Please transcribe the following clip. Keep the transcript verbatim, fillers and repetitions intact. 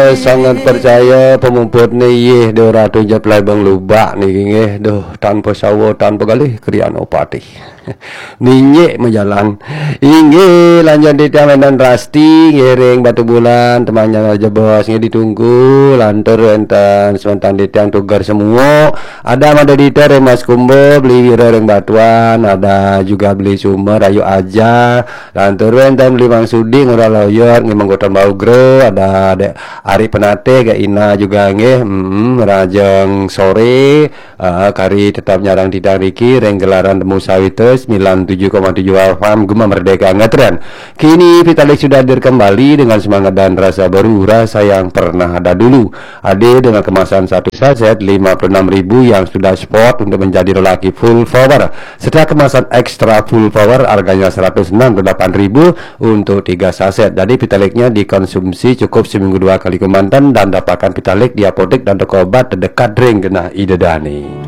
Sangat percaya pemuput ni yeh dua ratus jat pelai bang lubak ni nggih. Duh, tanpa sawa, tanpa galih krian opatih. Ninjek majalan. Inggih, lanjut titiang wénten Rasti ngiring Batu Bulan, temannya Raja Bos nggih ditunggu, lantur wénten semeton titiang Tugar semua. Ada Mada Dita ring Mas Kumba, beli Wira ring Batuan, ada juga beli Sumber, Ayu Aja, lantur wénten beli Mang Sudi, Ngurah Loyot, nggih Manggotan Baugra, ada Dek Ari Penatih, Kak Ina juga nggih, mm, Rajeng Sore, ah, kari tetap nyarang titiang riki, ring gelaran Temu Sawitra, sembilan tujuh koma tujuh F M, Gema Merdeka, ngatren. Kini Vitalik sudah hadir kembali dengan semangat dan rasa baru, rasa yang pernah ada dulu. Hadir dengan kemasan satu saset lima puluh enam ribu yang sudah spot untuk menjadi lelaki full power, serta kemasan extra full power harganya seratus enam puluh delapan ribu untuk tiga saset. Jadi Vitaliknya dikonsumsi cukup seminggu dua kali kemanten dan dapatkan Vitalik di apotek dan toko obat terdekat ring genah Ida Dani.